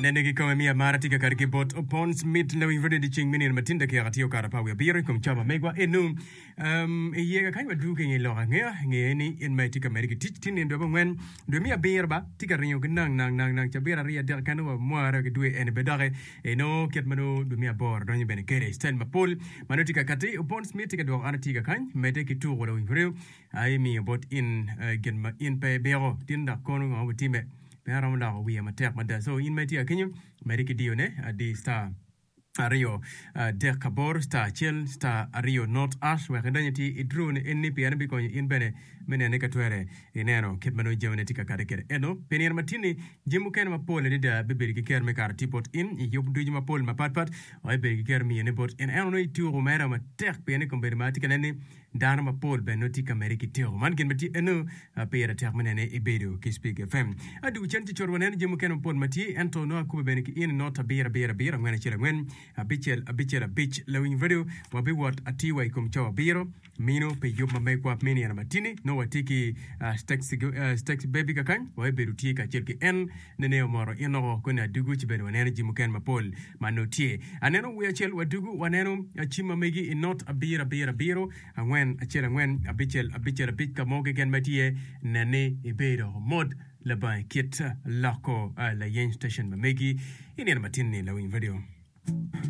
Nene kikome miyo amara tye ka kati ki bot Opons Mit Lawiny Radio dyeceng me nino ma tin dakika tye okato apar wiye abiro i kom cawa ma megwa enu. Um, i iye kakany waduu ki nge lok angeya ngeye ni in ma itye ka medde ki tic tin nino dwe abongwen dwe me abiro ba tye ka ringo ki nang nang nang nang cabit aryo adek kene wa mware ki dwe eni be doki inongo kit ma nongo dwe me aboro donyo bene kede style mapol ma nongo tye ka kati Opons Mit tye ka dwoko an atye kakany medde ki tuko Lawiny Radio Aye miyo bot in gin ma in pe ibiko. Tin dok kono ngo obitime? Pe aromo loko wiya matek mada. So in ma itye akenyo, mede ki diyo ne, adi star aryo adek aboro star acel star aryo not ash wek idony iti i draw ni eni pien bikonyo in bene me nene ka twere ineno kit ma nongo jamine tye ka kade kwede. Ento pi nino ma tin-ni jami mukene mapol adada bibedo ki kero me kato tye bot in i yub ducu mapol mapatpat wa ibedo ki kero miyone bot in. Ento nongo ituko mere matek pien i kombedo ma atye ka neno ni Dano mapol bene nongo tye ka medde ki tyeko. Man gin ma tye eno pire tek me nene ibedo ki Spik FM. Adwogo cen ci cot waneno jami mukene mapol ma tye ento nongo akube bene ki in i not abiro abiro abiro angwen acel angwen abicel abicel abic. Lawiny radio wabiwot atir wa i kom cawa abiro mino pi yub ma megwa me nino matini. Nongo watye ki Stacy Baby kakany wabibedo tye kacel ki en nene omoro in oko koni adugu ci bene waneno jami mukene mapol ma nongo tye. Aneno wiye acel wadugu waneno cim ma megi i not abiro abiro abiro angwen acel angwen abicel abicel abic ka mo keken ma tye nen ni ibedo mot labongo kit loko layeny station ma megi i nino matin ni lawiny radio.